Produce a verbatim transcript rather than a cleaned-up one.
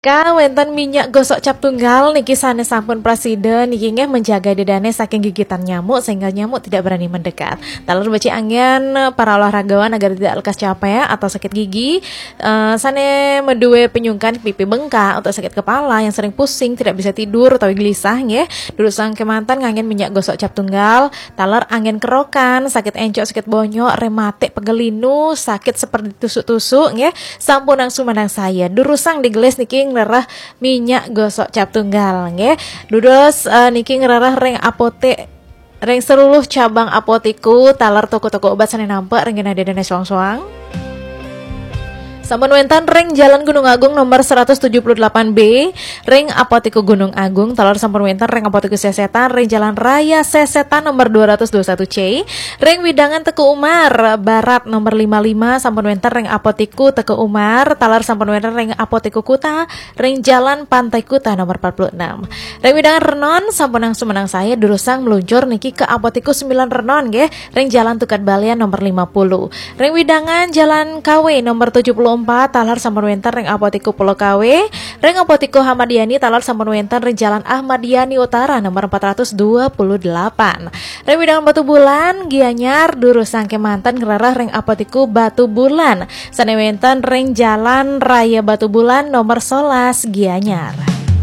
Ka wénten minyak gosok cap tunggal niki sané sampun prasida niki nggih menjaga dedane saking gigitan nyamuk sehingga nyamuk tidak berani mendekat. Taler becik anggen para olahragawan agar tidak lekas capek atau sakit gigi, eh, sané meduwe penyungkan pipi bengkak atau sakit kepala yang sering pusing, tidak bisa tidur atau gelisah nggih. Durusang kemanten nganggen minyak gosok cap tunggal, taler anggen kerokan, sakit encok, sakit bonyok, rematik, pegel linu, sakit seperti tusuk-tusuk nggih. Sampunang sumanang saya. Durusang digelis niki ngrereh minyak gosok cap tunggal nggih. Dudos eh, niki ngrereh ring apotek, ring seluruh cabang apotiku, taler toko-toko obat sané nampek ring genah dedene soang-soang. Sampun wénten ring Jalan Gunung Agung nomor seratus tujuh puluh delapan B, ring Apotiku Gunung Agung, taler sampun wénten ring Apotiku Sesetan, ring Jalan Raya Sesetan nomor dua ratus dua satu C, ring wewidangan Teuku Umar Barat nomor lima lima, sampun wénten ring Apotiku Teuku Umar, taler sampun wénten ring Apotiku Kuta, ring Jalan Pantai Kuta nomor empat puluh enam. Ring wewidangan Renon, sampunang sumanang saya, durusang meluncur niki ke Apotiku sembilan Renon nggih, ring Jalan Tukad Balian nomor lima puluh. Ring wewidangan Jalan Kawe nomor tujuh puluh empat, taler sampun wénten ring Apotiku Pulau Kawe, ring Apotiku Ahmad Yani, taler sampun wénten ring Jalan Ahmad Yani Utara nomor empat ratus dua puluh delapan. Ring wewidangan Batubulan, Gianyar, durusang kemanten ngrereh ring Apotiku Batubulan, sané wénten ring Jalan Raya Batubulan nomor sebelas, Gianyar.